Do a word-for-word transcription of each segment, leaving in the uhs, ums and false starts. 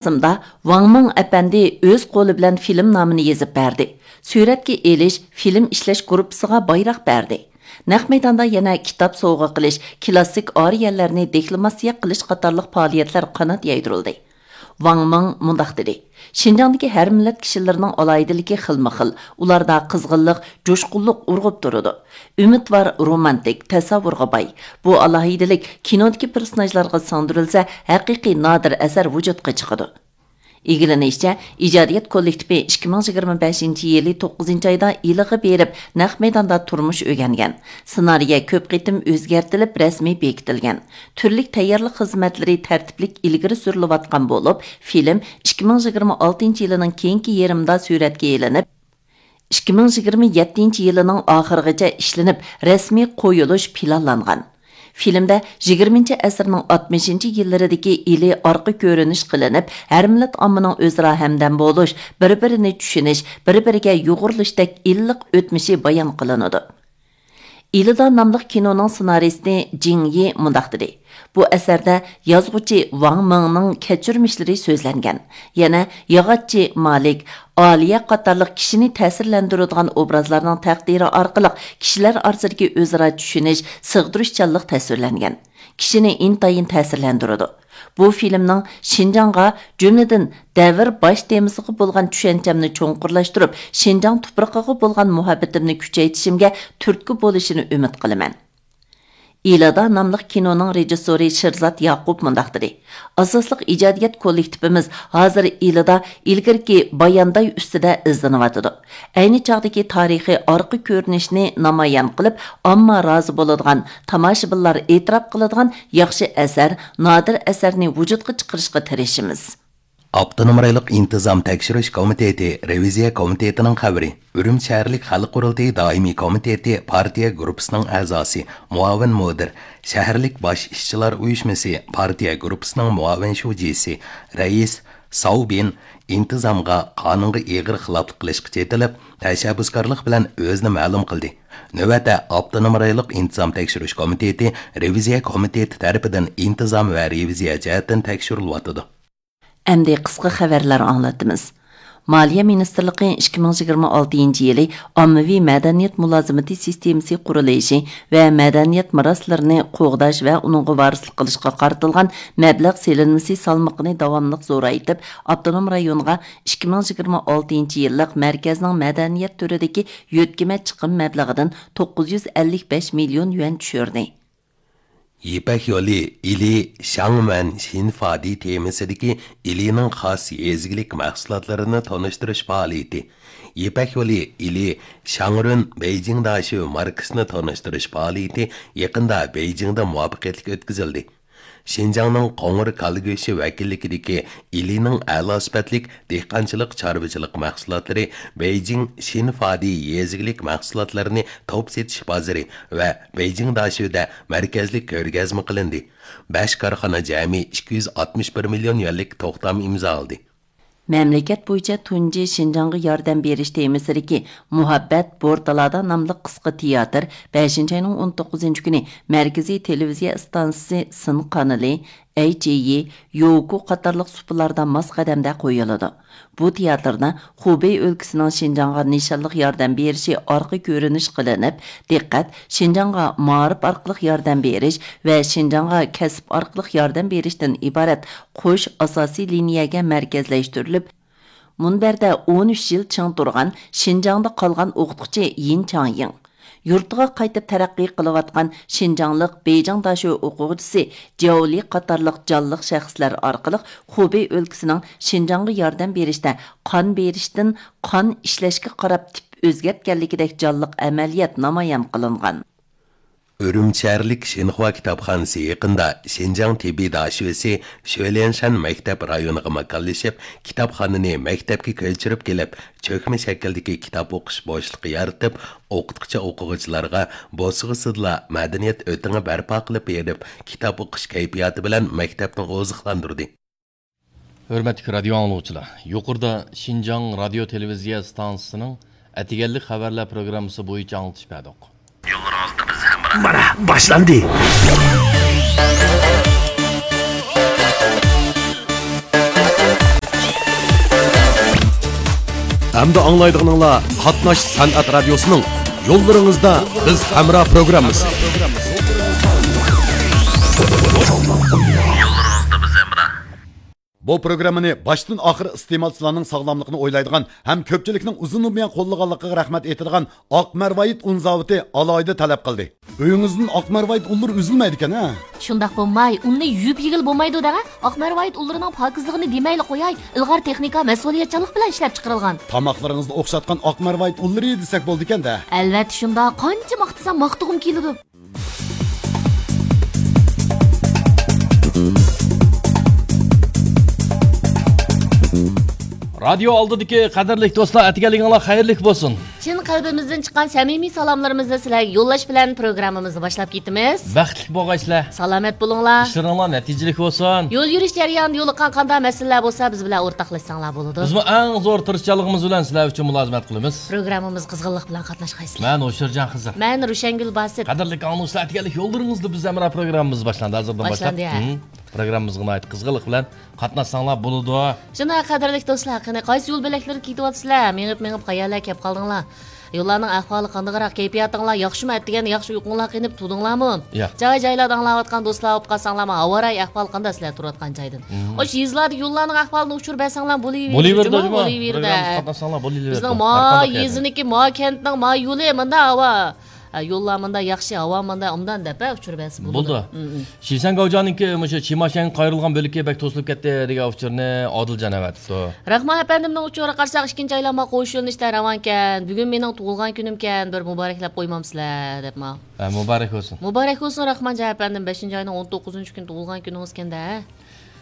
مۇراسىمدا ۋاڭ مىڭ ئەپەندى ئۆز قولى بىلەن فىلىم نامىنى يېزىپ بەردى. سۈرەتكە ئېلىش، فىلىم ئىشلەش گۇرۇپپىسىغا بايراق بەردى. نەق مەيداندا يەنە كىتاب سوۋغا قىلىش، كىلاسسىك ئارىيەلەرنى دېكلاماتسىيە قىلىش قاتارلىق پائالىيەتلەر قانات يايدۇرۇلدى. ۋاڭ مىڭ مۇنداق دېدى: شىنجاڭدىكى ھەر مىللەت كىشىلىرىنىڭ ئالاھىدىلىكى خىلمۇ خىل، ئۇلاردا قىزغىنلىق، جۇشقۇنلۇق ئۇرغۇپ تۇرىدۇ. ئۈمىدۋار، رومانتىك، تەسەۋۋۇرغا باي. بۇ ئالاھىدىلىك كىنودىكى پېرسوناژلارغا سىڭدۈرۈلسە، ھەقىقىي نادىر ئەسەر ۋۇجۇدقا چىقىدۇ. ئىگىلىنىشىچە، ئىجادىيەت كوللېكتىپى ئىككى مىڭ يىگىرمە بەشىنچى يىلى توققۇزىنچى ئايدا ئىلىغا بېرىپ، نەق مەيداندا تۇرمۇش ئۆگەنگەن. سېنارىيە كۆپ قېتىم ئۆزگەرتىلىپ، رەسمىي بېكىتىلگەن. تۈرلۈك تەييارلىق خىزمەتلىرى تەرتىپلىك ئىلگىرى سۈرۈلۈۋاتقان بولۇپ، فىلىم ئىككى مىڭ يىگىرمە ئالتىنچى يىلىنىڭ كېيىنكى يېرىمىدا سۈرەتكە ئېلىنىپ، ئىككى مىڭ يىگىرمە يەتتىنچى يىلىنىڭ ئاخىرىغىچە ئىشلىنىپ، رەسمىي قويۇلۇش پىلانلانغان. فىلىمدە يىگىرمىنچى ئەسىرنىڭ ئاتمىشىنچى يىللىرىدىكى ئىلى ئارقا كۆرۈنۈش قىلىنىپ، ھەر مىللەت ئاممىنىڭ ئۆزئارا ھەمدەم بولۇش، بىر-بىرىنى چۈشىنىش، بىر-بىرىگە يۇغۇرۇلۇشتەك ئىللىق ئۆتمۈشى بايان قىلىنىدۇ. ئىلىدا ناملىق كىنونىڭ سېنارىستى جىڭ يى مۇنداق دېدى: بۇ ئەسەردە يازغۇچى ۋاڭ مىڭنىڭ كەچۈرمىشلىرى سۆزلەنگەن. يەنە ياغاچچى مالىك، ئالىيە قاتارلىق كىشىنى تەسىرلەندۈرىدىغان ئوبرازلارنىڭ تەقدىرى ئارقىلىق كىشىلەر ئارىسىدىكى ئۆزئارا چۈشىنىش، سىغدۇرۇشچانلىق تەسۋىرلەنگەن. كىشىنى ئىنتايىن تەسىرلەندۈرىدۇ. بۇ فىلىمنىڭ شىنجاڭغا، جۈملىدىن دەۋر باش تېمىسىغا بولغان چۈشەنچەمنى چوڭقۇرلاشتۇرۇپ، شىنجاڭ تۇپرىقىغا بولغان مۇھەببىتىمنى كۈچەيتىشىمگە تۈرتكە بولۇشىنى ئۈمىد قىلىمەن. ئىلىدا ناملىق كىنونىڭ رېژىسسورى شىرزات ياقۇپ مۇنداق دېدى: ئاساسلىق ئىجادىيەت كوللېكتىپىمىز ھازىر ئىلىدا ئىلگىرىكى بايانداي ئۈستىدە ئىزدىنىۋاتىدۇ. ئەينى چاغدىكى تارىخىي ئارقا كۆرۈنۈشنى نامايان قىلىپ، ئامما رازى بولىدىغان، تاماشىبىنلار ئېتىراپ قىلىدىغان ياخشى ئەسەر، نادىر ئەسەرنى ۋۇجۇدقا چىقىرىشقا تىرىشىمىز. ئاپتونوم رايونلۇق ئىنتىزام تەكشۈرۈش كومىتېتى رېۋىزىيە كومىتېتىنىڭ خەۋىرى. ئۈرۈمچى شەھەرلىك خەلق قۇرۇلتىيى دائىمىي كومىتېتى پارتىيە گۇرۇپپىسىنىڭ ئەزاسى، مۇئاۋىن مۇدىر، شەھەرلىك باش ئىشچىلار ئۇيۇشمىسى پارتىيە گۇرۇپپىسىنىڭ مۇئاۋىن شۇجىسى، رەئىس ساۋ بىن ئىنتىزامغا، قانۇنغا ئېغىر خىلاپلىق قىلىشقا چېتىلىپ، تەشەببۇسكارلىق بىلەن ئۆزىنى مەلۇم قىلدى. نۆۋەتتە ئاپتونوم رايونلۇق ئىنتىزام تەكشۈرۈش كومىتېتى رېۋىزىيە كومىتېتى تەرىپىدىن ئىنتىزام ۋە رېۋىزىيە جەھەتتىن تەكشۈرۈلۈۋاتىدۇ. ئەمدى قىسقا خەۋەرلەر ئاڭلىتىمىز. مالىيە مىنىستىرلىقى ئىككى مىڭ يىگىرمە ئالتىنچى يىلى ئاممىۋى مەدەنىيەت مۇلازىمىتى سىستېمىسى قۇرۇلۇشى ۋە مەدەنىيەت مىراسلىرىنى قوغداش ۋە ئۇنىڭغا ۋارىسلىق قىلىشقا قارىتىلغان مەبلەغ سېلىنمىسى سالمىقىنى داۋاملىق زورايتىپ، ئاپتونوم رايونغا ئىككى مىڭ يىگىرمە ئالتىنچى يىللىق مەركەزنىڭ مەدەنىيەت تۈرىدىكى يۆتكىمە چىقىم مەبلىغىدىن توققۇز يۈز ئەللىك بەش مىليون يۈەن چۈشۈردى. يىپەك يولى ئىلى شاڭمەن شىنفادى تېمىسىدىكى ئىلىنىڭ خاس يېزا ئىگىلىك مەھسۇلاتلىرىنى تونۇشتۇرۇش پائالىيىتى. يىپەك يولى ئىلى شاڭرۈن بېيجىڭ داشۆ ماركىسىنى تونۇشتۇرۇش پائالىيىتى يېقىندا بېيجىڭدا مۇۋەپپەقىيەتلىك ئۆتكۈزۈلدى. شىنجاڭنىڭ قوڭۇر كالا گۆشى ۋەكىللىكىدىكى ئىلىنىڭ ئەلا سۈپەتلىك دېھقانچىلىق، چارۋىچىلىق مەھسۇلاتلىرى بېيجىڭ شىنفادى يېزا ئىگىلىك مەھسۇلاتلىرىنى توپ سېتىش بازىرى ۋە بېيجىڭ داشۆدە مەركەزلىك كۆرگەزمە قىلىندى. بەش كارخانا جەمئىي ئىككى يۈز ئاتمىش بىر مىليون يۈەنلىك توختام ئىمزالىدى. مەملىكەت بويىچە تۇنجى شىنجاڭغا ياردەم بېرىش تېمىسىدىكى مۇھەببەت بورتالادا ناملىق قىسقا تىياتىر بەشىنچى ئاينىڭ ئون توققۇزىنچى كۈنى مەركىزىي تېلېۋىزىيە ئىستانسىسى سىن قانىلى، ئەي جى يى، يوكۇ قاتارلىق سۇپىلاردا ماس قەدەمدە قويۇلىدۇ. بۇ تىياتىردا خۇبېي ئۆلكىسىنىڭ شىنجاڭغا نىشانلىق ياردەم بېرىشى ئارقا كۆرۈنۈش قىلىنىپ، دىققەت شىنجاڭغا مائارىپ ئارقىلىق ياردەم بېرىش ۋە شىنجاڭغا كەسىپ ئارقىلىق ياردەم بېرىشتىن ئىبارەت قوش ئاساسىي لىنىيەگە مەركەزلەشتۈرۈلۈپ، مۇنبەردە ئون ئۈچ يىل چىڭ تۇرغان شىنجاڭدا قالغان ئوقۇتقۇچى يىن چاڭيىڭ، يۇرتىغا قايتىپ تەرەققىي قىلىۋاتقان شىنجاڭلىق بېيجىڭ داشۆ ئوقۇغۇچىسى جياۋ لى قاتارلىق جانلىق شەخسلەر ئارقىلىق خۇبېي ئۆلكىسىنىڭ شىنجاڭغا ياردەم بېرىشتە قان بېرىشتىن قان ئىشلەشكە قاراپ تىپ ئۆزگەرتكەنلىكىدەك جانلىق ئەمەلىيەت نامايان قىلىنغان. ئۈرۈمچى شەھەرلىك شىنخۇا كىتابخانىسى يېقىندا شىنجاڭ تېببىي داشۆسى شۆليەنشەن مەكتەپ رايونىغا ماكانلىشىپ، كىتابخانىنى مەكتەپكە كۆچۈرۈپ كېلىپ، چۆكمە شەكىلدىكى كىتاب ئوقۇش بوشلۇقى يارىتىپ، ئوقۇتقۇچى-ئوقۇغۇچىلارغا بوسۇغىسىدىلا مەدەنىيەت ئۆتىڭى بەرپا قىلىپ بېرىپ، كىتاب ئوقۇش كەيپىياتى بىلەن مەكتەپنى ئوزۇقلاندۇردى. ھۆرمەتلىك رادىيو ئاڭلىغۇچىلار، يۇقىرىدا شىنجاڭ رادىيو تېلېۋىزىيە ئىستانسىسىنىڭ ئەتىگەنلىك خەۋەرلەر پروگراممىسى بويىچە ئاڭلىتىش بەردۇق. مانا، باشلاندى. ئەمدى ئاڭلايدىغىنىڭلار قاتناش سەنئەت رادىيوسىنىڭ يوللىرىڭىزدا بىز ھەمراھ پروگراممىسى. بۇ پروگراممىنى باشتىن ئاخىر ئىستېمالچىلارنىڭ ساغلاملىقىنى ئويلايدىغان ھەم كۆپچىلىكنىڭ ئۇزۇندىن بۇيان قوللىغانلىقىغا رەھمەت ئېيتىدىغان ئاق مەرۋايىت ئۇن زاۋۇتى ئالاھىدە تەلەپ قىلدى. ئۆيىڭىزدىن ئاق مەرۋايىت ئۇنلىرى ئۈزۈلمەيدىكەن ھە؟ شۇنداق بولماي، ئۇننى يۇيۇپ يېگىلى بولمايدۇ دەڭە. ئاق مەرۋايىت ئۇنلىرىنىڭ پاكىزلىقىنى دېمەيلا قوياي، ئىلغار تېخنىكا، مەسئۇلىيەتچانلىق بىلەن ئىشلەپ چىقىرىلغان. تاماقلىرىڭىزنى ئوخشاتقان ئاق مەرۋايىت ئۇنلىرى دېسەك بولىدىكەن دە. ئەلۋەتتە شۇنداق، قانچە ماختىسام ماختىغۇم كېلىدۇ. رادىيو ئالدىدىكى قەدىرلىك دوستلار، ئەتىگەنلىكىڭلار خەيرلىك بولسۇن. چىن قەلبىمىزدىن چىققان سەمىمىي سالاملىرىمىزنى سىلەرگە يوللاش بىلەن پروگراممىمىزنى باشلاپ كېتىمىز. بەختلىك بولغايسىلەر. سالامەت بولۇڭلار. ئىشلىرىڭلار نەتىجىلىك بولسۇن. يول يۈرۈش جەريانىدا يولۇققان قانداق مەسىلىلەر بولسا، بىز بىلەن ئورتاقلاشساڭلار بولىدۇ. بىزمۇ ئەڭ زور تىرىشچانلىقىمىز بىلەن سىلەر ئۈچۈن مۇلازىمەت قىلىمىز. پروگراممىمىزغا قىزغىنلىق بىلەن قاتناشقايسىلەر. مەن ھوشيارجان خىزىر. مەن روشەنگۈل باسىت. قەدىرلىك ئاڭلىغۇچىلار، ئەتىگەنلىك يوللىرىڭىزدا بىز ھەمراھ پروگراممىمىز باشلاندى. ھازىردىن باشلاپ. باشلاندى، ھە. مم. پروگراممىمىزغا ناھايىتى قىزغىنلىق بىلەن قاتناشساڭلار بولىدۇ. شۇنداق، قەدىرلىك دوستلار، قېنى قايسى يول بۆلەكلىرىگە كېتىۋاتىسىلەر؟ مېڭىپ، مېڭىپ قەيەرلەرگە كەپ قالدىڭلار؟ يوللارنىڭ ئەھۋالى قانداقراق؟ كەيپىياتىڭلار ياخشىمۇ؟ ئەتىگەندە ياخشى ئۇيقۇڭلار قېنىپ تۇردۇڭلارمۇ؟ ياق. جاي-جايلاردا ئاڭلاۋاتقان دوستلار بولۇپ قالساڭلارمۇ، ھاۋارايى ئەھۋال قانداق سىلەر تۇرۇۋاتقان جايدىن؟ مم. ئاشۇ يېزىلاردىكى يوللارنىڭ ئەھۋالىنى ئۇچۇر بەرسەڭلار بولۇۋېرىدۇ، بولۇۋېرىدۇ، جۇمۇ، جۇمۇ. بولۇۋېرىدۇ. پروگراممىمىزغا قاتناشساڭلار بولۇۋېرىدۇ. بىزنىڭ ما يېزىنىڭكى، ما كەنتنىڭ، ما يولى مۇنداق ھاۋا. ھە، يوللار مۇنداق ياخشى، ھاۋا مۇنداق، ئوبدان دەپ، ھە، ئۇچۇر بەرسە بولىدۇ. بولىدۇ. مم، مم. شىسەن گاۋجياڭنىڭكى مۇشۇ چىماشەنگە قايرىلغان بۆلىكى بەك توسۇلۇپ كەتتى دېگەن ئۇچۇرنى ئادىلجان ئەۋەتىپتۇ. راخمان ئەپەندىمنىڭ ئۇچۇرىغا قارىساق، ئىككىنچى ئايلانما قوش يۆنىلىشتە راۋانكەن. بۈگۈن مېنىڭ تۇغۇلغان كۈنۈمكەن، بىر مۇبارەكلەپ قويمامسىلەر، دەپمۇ. ھە، مۇبارەك بولسۇن. مۇبارەك بولسۇن، راخمانجان ئەپەندىم، بەشىنچى ئاينىڭ ئون توققۇزىنچى كۈنى تۇغۇلغان كۈنىڭىزكەن-دە.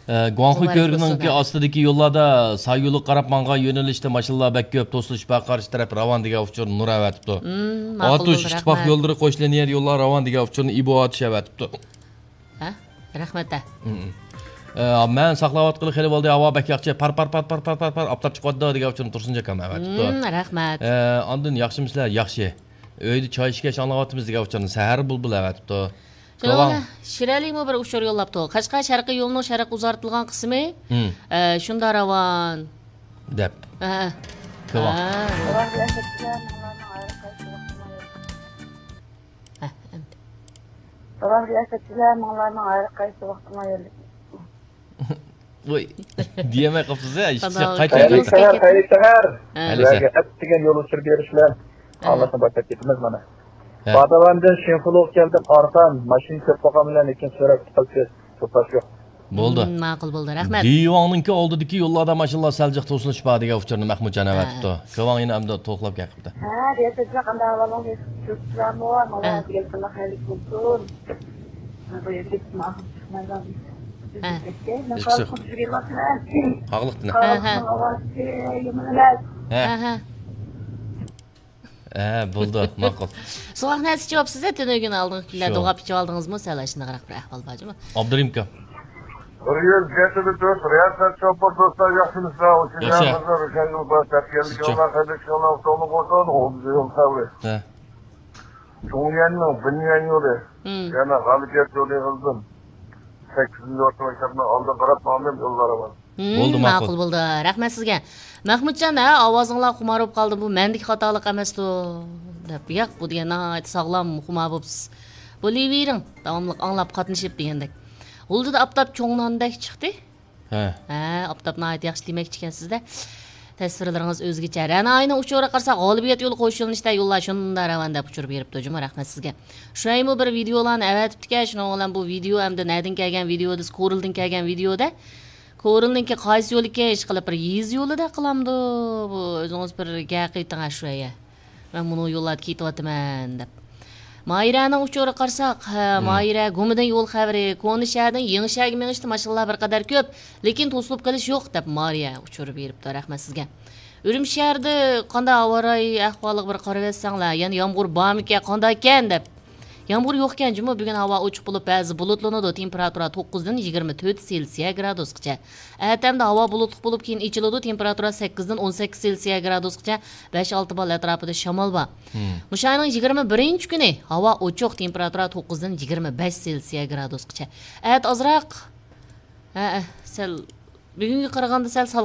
ئە، گۇاڭخۇي مۇبارەك كۆۋرۈكىنىڭكى بولسۇن. ئاستىدىكى يوللاردا ساي يولىغا قاراپ ماڭغان يۆنىلىشتە ماشىنىلار بەك كۆپ، توسۇلۇش بار، قارشى تەرەپ راۋان دېگەن ئۇچۇرنى نۇر ئەۋەتىپتۇ. مم، ماقۇل ئاتۇش، بولدى، ئىتتىپاق رەھمەت. يوللىرى، قوش لىنىيە يوللار راۋان دېگەن ئۇچۇرنى ئىبو ئاتۇش ئەۋەتىپتۇ. ھە؟ رەھمەت، ھە. مم. ئە، مەن ساقلاۋاتقىلى خېلى بولدى، ھاۋا بەك ياخشى، پار، پار، پار، ئاپتاپ چىقىۋاتىدۇ دېگەن ئۇچۇرنى تۇرسۇنجان ئاكام ئەۋەتىپتۇ. مم، رەھمەت. ئە، ئاندىن ياخشىمۇسىلەر؟ ياخشى. ئۆيدە چاي ئىچكەچ ئاڭلاۋاتىمىز دېگەن ئۇچۇرنى سەھەر بۇلبۇل ئەۋەتىپتۇ. شۇنىڭ بىلەن شىرئەلىمۇ بىر ئۇچۇر يوللاپتۇ. قەشقەر شەرقىي يولىنىڭ شەرققە ئۇزارتىلغان قىسمى، مم. ئە، شۇنداق راۋان. دەپ. ھە، ھە. كۆۋاڭ. ھە. ھە، ئەمدى. ۋوي. دېيەلمەي قاپسىز ھە، ئىشقا قانداق قايتا، قايتا. خەيرلىك سەھەر، خەيرلىك سەھەر. ھە. سىلەرگە ئەتىگەن يول ئۇچۇر بېرىش بىلەن ھە. ئاڭلاشنى باشلاپ كېتىمىز مانا. ھە. باداۋاندىن شىنخۇلۇغا كەلدىم، ئارقان، ماشىنا كۆپ بولغان بىلەن، لېكىن سۈرئەت قىلىپ توسۇلۇش يوق. بولدى. مم، ماقۇل بولدى، رەھمەت. دىيۇاڭنىڭكى ئالدىدىكى يوللاردا ماشىنىلار سەل جىق توسۇلۇش بار دېگەن ئۇچۇرنى مەھمۇتجان ئەۋەتىپتۇ. ھە. كۆۋاڭ يەنە ئەمدى توقلاپ گەپ قىپتۇ. ھە، رىياسەت، قانداق ئەھۋالىڭىز؟ ياخشىمۇ؟ ھە. ئەتىگەنلىكىڭلار خەيرلىك بولسۇن. ھە. ھە. ھە، ھە. ھە، ھە. ھە، ھە، بولدى، ماقۇل. سوغۇق نەرسە ئىچىۋاپسىز ھە، تۈنۈگۈن ئالدىنقى كۈنلەر شۇ. دوغاپ ئىچىۋالدىڭىزمۇ؟ سەل ئاشۇنداقراق بىر ئەھۋال بار جۇمۇ. ئابدۇرېھىم ئاكا. بىر يۈز يەتتە نۇقتا تۆت رىياسەت چوپۇر دوستلار، ياخشىمۇسىلەر؟ ھوشيار ياخشى. قىزلار، روشەنگۈل بار، تەپكەنلىك يوللار، خەيرلىك يوللار، توغرا بولسۇن، ئوبزور يول خەۋىرى. ھە. چۇڭيۈەننىڭ بىنيۈەن يولى، مم. يەنە غالىبىيەت يولى يىغىلدىم. سەككىزىنچى ئورتا مەكتەپنىڭ ئالدىغا قاراپ ماڭدىم، يوللار ئاۋارە. ھىم، دولدى، ماقۇل. ماقۇل بولدى. رەھمەت سىزگە. مەھمۇتجان، ھە، ئاۋازىڭلار خۇمار بولۇپ قالدى. بۇ مەندىكى خاتالىق ئەمەستۇ؟ دەپ. ياق، بۇ دېگەن ناھايىتى ساغلام خۇمار بوپسىز. بولۇۋېرىڭ، داۋاملىق ئاڭلاپ، قاتنىشىپ دېگەندەك. ھۇلجىدا ئاپتاپ چوڭ ناندەك چىقتى. ھە. ھە، ئاپتاپ ناھايىتى ياخشى دېمەكچىكەنسىز-دە. تەسۋىرلىرىڭىز ئۆزگىچە. رەنا ئاينىڭ ئۇچۇرىغا قارىساق، غالىبىيەت يولى قوش يۆنىلىشتە يوللار شۇنداق راۋان دەپ ئۇچۇر بېرىپتۇ جۇمۇ، رەھمەت سىزگە. شۇئەيمۇ بىر ۋىدېئولارنى ئەۋەتىپتىكەن، شۇنىڭ بىلەن بۇ ۋىدېئو ئەمدى نەدىن كەلگەن ۋىدېئو دېسە، كورلدىن كەلگەن ۋىدېئو-دە. كورلنىڭكى قايسى يولىكى؟ ئىشقىلىپ بىر يېزا يولىدەك قىلامدۇ؟ بۇ ئۆزىڭىز بىر گەپ قىلىۋېتىڭ شۇ يە. مەن مۇنۇ يوللاردا كېتىۋاتىمەن دەپ. ماھىرەنىڭ ئۇچۇرىغا قارىساق، ھە، مم. ماھىرە، گۇمىدىن يول خەۋىرى، كونا شەھەردىن يېڭى شەھەرگە مېڭىشتا ماشىنىلار بىر قەدەر كۆپ، لېكىن توسۇلۇپ قېلىش يوق دەپ مارىيە ئۇچۇر بېرىپتۇ. رەھمەت سىزگە. ئۈرۈمچى شەھىرىدە قانداق ھاۋا رايى ئەھۋالىغا بىر قارىۋەتسەڭلار، يەنە يامغۇر بارمىكەن، قانداكەن دەپ. يامغۇر يوقكەن جۇمۇ، بۈگۈن ھاۋا ئوچۇق بولۇپ، بەزى بۇلۇتلىنىدۇ، تېمپېراتۇرا توققۇزدىن يىگىرمە تۆت سېلسىيە گرادۇسقىچە. ئەتەمدە ھاۋا بۇلۇتلۇق بولۇپ، كېيىن ئېچىلىدۇ، تېمپېراتۇرا سەككىزدىن ئون سەككىز سېلسىيە گرادۇسقىچە، بەش ئالتە بال ئەتراپىدا شامال بار. مم. مۇشۇ ئاينىڭ يىگىرمە بىرىنچى كۈنى ھاۋا ئوچۇق، تېمپېراتۇرا توققۇزدىن يىگىرمە بەش سېلسىيە گرادۇسقىچە. ئەتە ئازراق، ھە، سەل بۈگۈنگە قارىغاندا سەل سالقىن.